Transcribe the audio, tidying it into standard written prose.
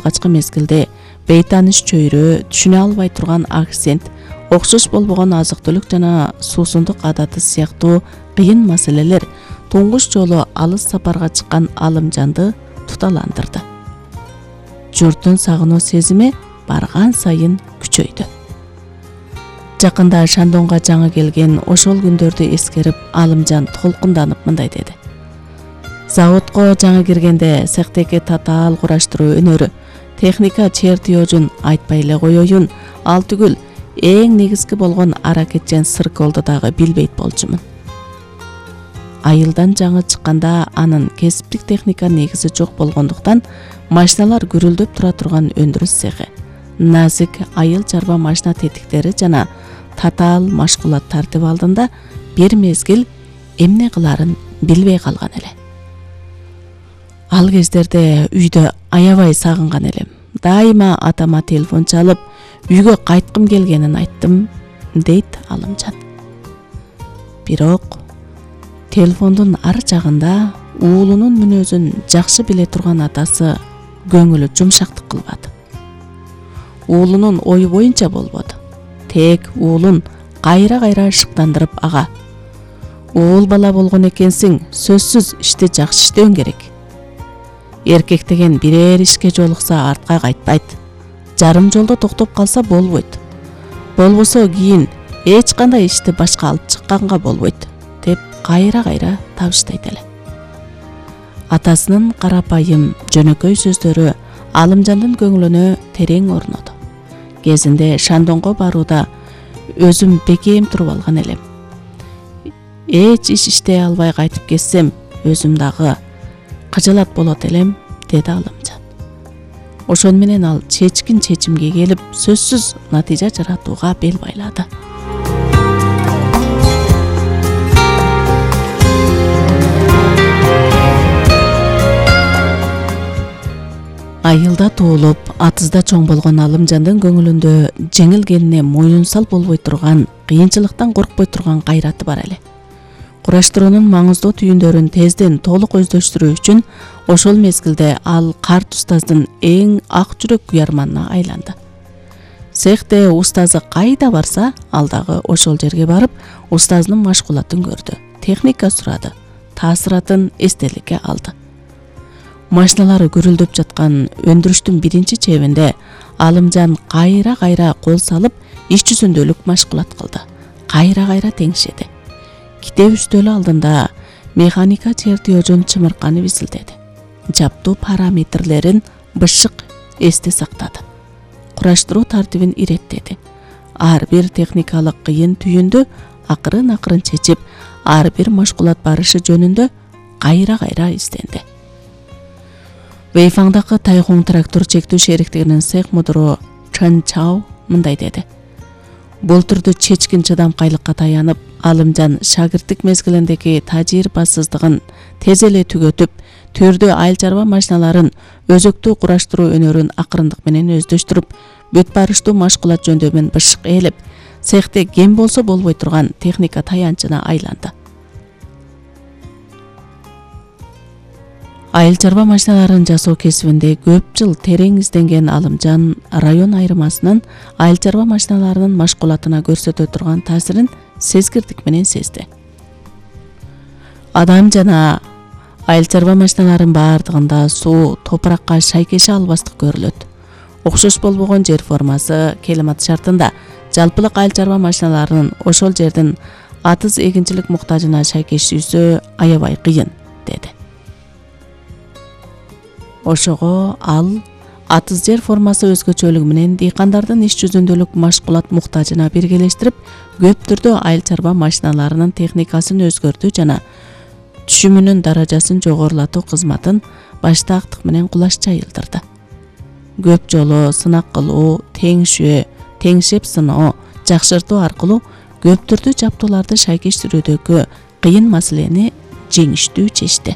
качкы мезгилде бейтааныш чөйрө, түшүнө албай турган акцент, окшош болбогон азык-түлүк жана суусундук адаты сыяктуу кыйын маселелер туңгуч жолу алыс сапарга чыккан Алымжанды туталандырды. Журттун сагынуу сезими барган сайын күчөйдү. Жакында Шандонго жаңы келген ошол күндөрдү эскерип, Алымжан толкунданып мындай деди. Заводко жаңы киргенде цехтеги татаал кураштыруу өнөрү, техника чертежун айтпай эле коеюн, ал түгүл эң негизги болгон аракетчен сырколду дагы билбейт болчумун. Айылдан жаңы чыкканда анын кесиптик техника негизи жок болгондуктан машиналар гүрүлдөп тура турган өндүрүш цехи, назик айыл чарба машина тетиктери жана татаал машкулат тартип алдында бир мезгил эмне кыларын билбей калган эле. Ал кездерде үйдө аябай сагынган элем. Дайыма атама телефон чалып, үйгө кайткым келгенин айттым, дейт Алымжан. Бирок телефондун ар жагында уулунун мүнөзүн жакшы биле турган атасы көңүлү жумшактык кылбады. Уулунун ою боюнча болбоду. Тек уулун кайра-кайра шыктандырып, ага, уул бала болгон экенсиң, сөзсүз ишти жакшы иштөөң керек. Эркек деген бирээр ишке жолукса артка кайтпайт. Жарым жолдо токтоп калса болбойт. Болбосо кийин эч кандай ишти башка алып чыкканга болбойт, деп кайра-кайра табыштайт эле. Атасынын карапайым, жөнөкөй сөздөрү Алымжандын көңүлүнө терең орноду. Кезинде Шандонго барууда өзүм бекем туруп алган элем. Эч иш иштей албай кайтып кетсем, өзүм дагы кыжылат болот элем, деди Алымжан. Ошон менен ал чечкин чечимге келип, сөзсүз натыйжа жаратууга бел байлады. Айылда туулуп, атызда чоң болгон Алымжандын көңүлүндө жеңилгенине моюнсал болбой турган, кыйынчылыктан коркпой турган кайраты бар эле. Кураштыруунун маңыздуу түйүндөрүн тезден толук өздөштүрүү үчүн ошол мезгилде ал карт устаздын эң ак жүрөк куярманына айланды. Цехте устазы кайда барса, ал дагы ошол жерге барып, устазынын машкулатын көрдү, техника сурады, таасыратын эстеликке алды. Машиналары гүрүлдөп жаткан өндүрүштүн биринчи чебинде Алымжан кайра-кайра кол салып, иш жүзүндөлүк машкулат кылды. Кайра-кайра теңшеди. Китеп үстөлү алдында механика чертежун чымырканы визилдеди. Жаптуу параметрлерин бышык эсте сактады. Кураштыруу тартибин иреттеди. Ар бир техникалык кыйын түйүндү акырын-акырын чечип, ар бир машкулат барышы жөнүндө кайра-кайра изденди. Вейфаңдагы Тайхун трактор чектүү шериктигинин цех мудуру Чан Чао мындай деди. Бул түрдө чечкин чыдамкайлыкка таянып, Алымжан шагирттик мезгилиндеги тажрыйбасыздыгын тез эле түгөтүп, түрдө айыл чарба машиналарын өзөктүү кураштыруу өнөрүн акырындык менен өздөштүрүп, бүт барыштуу машкулат жөндөмүн бышык ээлеп, цехте кем болсо болбой турган техника таянчына айланды. Айыл чарба машиналарын жасоо кесибинде көп жыл терең изденген Алымжан район айырмасынын айыл чарба машиналарынын машкулатына көрсөтө турган таасирин сезгирдик менен сезди. Адам жана айыл чарба машиналарынын баардыгында суу, топуракка шайкеше албастык көрүлөт. Окшош болбогон жер формасы келимат шартында жалпылык айыл чарба машиналарынын ошол жердин атыз эгинчилик муктажына шайкешүүсү аябай кыйын, деди. Ошого ал атыз жер формасы өзгөчөлүгү менен дыйкандардын иш жүзүндөлүк машкулат муктажына биргелештирип, көп түрдө айыл чарба машиналарынын техникасын өзгөртүү жана түшүмүнүн даражасын жогорулатуу кызматын баштаактык менен кулаш жайылдырды. Көп жолу сынак кылуу, теңшөө, теңшеп сыноо, жакшыртуу аркылуу көп түрдүү жаптууларды шайкештирүүдөгү кыйын маселени жеңиштүү чечти.